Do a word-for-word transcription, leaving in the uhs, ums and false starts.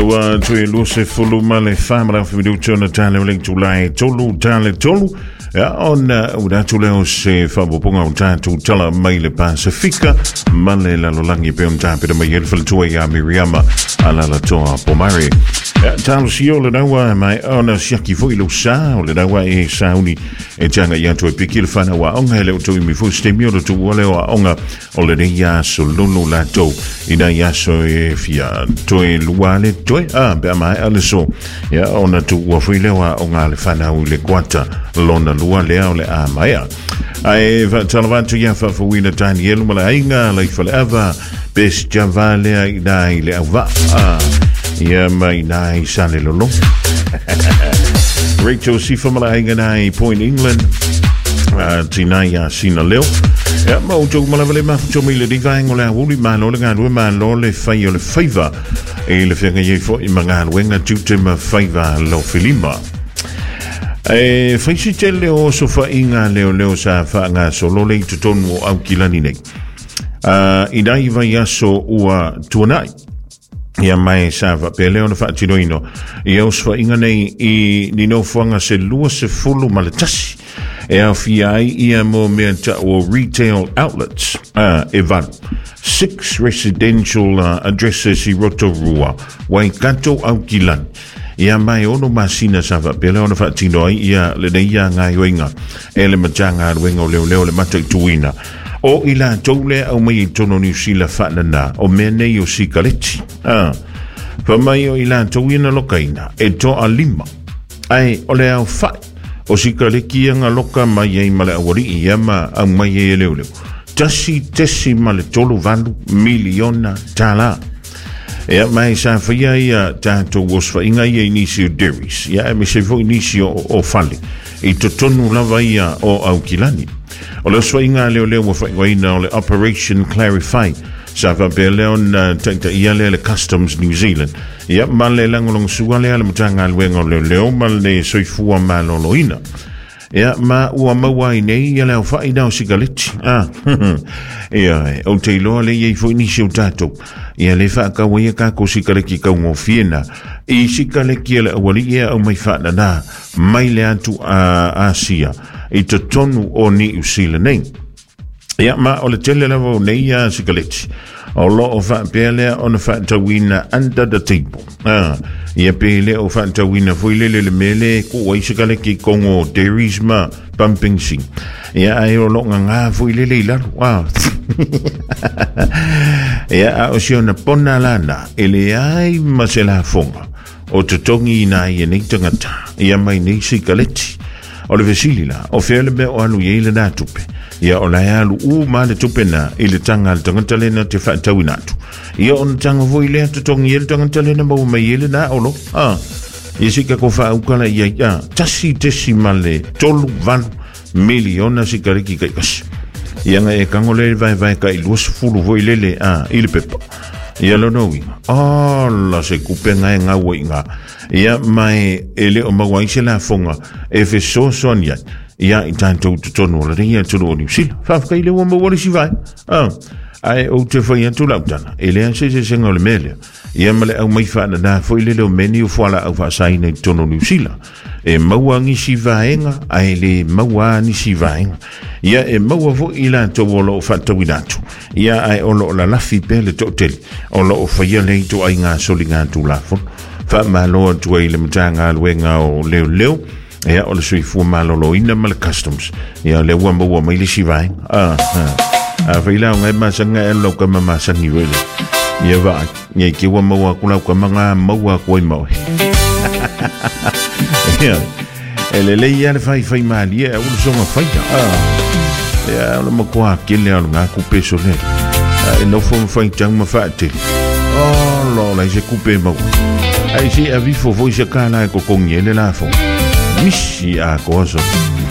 Ua tui luse fulu ma le whamara whimiruto na tāle o le tūlai tolu tāle tolu. Ia ona ua leo se whapoponga o tātou tala mai le Pasifika ma le lalolangi pe on tāpera mai ele whalatua ia Miriama alala toa pomare. Ia tālo si o le naua mai ona siaki foi lo sa o le naua e sauni e tanga ia atu e piki le whanau a onga hele o tui mi fo stemi o le tu o leo a onga o le nei aso lulu latou ina aso e fia toe lua le toe a pe mai a le so ia ona tu ua fui leo a onga le whanau le kuata lona lua lea o le a maia. Ai whatalavatu ia whawhawina Danielu ma le ainga le whaleava bes java lea i nai le auva ia mai nai sa le lolo. Rachel Sifa ma le ainga nai Point England tina ia sina leo. Ia ma o tau malawa le mafuto mai le rivaengo le awuli malo le ngalue malo le whai o le faiva e le whianga iei fo i mangaluenga tute ma faiva lo filima. E whaisi te leo sofa inga leo leo sa whaanga solo le i totonu o aukilani nei. Uh, I nai vai aso ua tuanai. Ia mai sa whapea leo na whaatinoino. Ia osfa inga nei i ninofuanga se lua se fulu ma le tasi. E awhia ai ia mo mea ta o retail outlets uh, e valu. Six residential uh, addresses i Rotorua, Waikato Aukilani. Ia mai ono masina sa whapea leo na whaatino ai ia le nei ia ngai oinga. E le matanga aluenga o leo leo le mata i tuina. O i la tau lea au mai i tono Niu Sila whaanana o mea nei o sikareti. Ah, fa mai o i la tau ina lokaina e toa lima. Ai o le au whai o sikareki ia ngā loka mai ei ma le awari i ia ma au mai ei e leo leo. Tasi tesi ma le tolu valu miliona tāla. Ia mai sa whia ia tātou oswhainga ia i nisi o dairies. Ia e me se fo i nisi o, o fale. I totonu lava ia o Aukilani. O le oswhainga leo leo wa whaingoina o le Operation Clarify. Sa whapea leo na taita ia lea le Customs New Zealand. Ia ma le langolong sua lea le matanga aluenga o leo leo ma le soifua maloloina. Ia ma ua maua ai nei ia leo whai nao sikareti. Ah, ia o te iloa le iei fo nisi o tātou. Ia le whaakawa ia kako sikareki kau ngō. I sikareki ele awali ia au mai whaanana mai le atu a Asia. I te tonu o Niu Sila nei. Ia ma o le tele lava o nei ia sikareti. O lo o whaapea lea o na whaatauina under the table. Ah, ia pe lea o whaatauina fui lele le mele ko ai sikareki kongo dairies ma pumping sing. Ia ai o lo ngā fui lele i lalo. Ah. Ia a o si ona pona lana e le ai ma se la fonga. O te tongi ina ia nei tangata. Ia mai nei sikareti. O le vesili la, o fea le mea o alu iei le nā tupe. Ia o lai alu u ma le tupe na i le tanga le tangata lena te whaatauina atu. Ia o na tanga voi lea te tongi e le tangata lena mau mai e le nā olo. Ah, ia sika ko whaaukala ia ia tasi tesi ma le tolu valu miliona sikareki kai kasi. Ia nga e kango le vai vai ka i luas fulu voi lele ah, i le pepa. Ia lono uinga. Ala se kupe ngai ngā inga. Ia mai e le o maua ise la fonga e fesoasoani ai. Ia i tātou totonu o le rea tonu o Niu Sila. Whawhakai le ua maua le si vai. Ah, ai o te whai atu lautana. E lea se se senga o le melea. Ia ma le au mai whaana nā foi lele o meni o fuala au whaasaina i tonu Niu Sila. E maua ngisi vaenga, ai le maua nisi vaenga. Ia e maua fo i la tau o loo whaatawina atu. Ia ai o loo la lafi pe le tōteli. O loo whaia lei tō ai ngā soli ngā tū lafono. Wha maloa tua i le matanga aluenga o leo leo. Ia o le soifua maloloina ma le customs. Ia le ua maua mai le si vaenga. Ah, ah. A whaila o ngai masanga e lau ka mamasangi wele. Ia waa, ngai ki ua maua ku lau ka manga maua ku ai maui. Ia, e le lei ia le whai whai maali e ulu songa whaita. Ah, ia o le makua kele o ngā kupe so le. E nofo mwhai tang ma whaatele. Oh, lo lai se kupe maua. Ai se a vifo foi se kāla e kokongi e le lafo. Misi a koaso.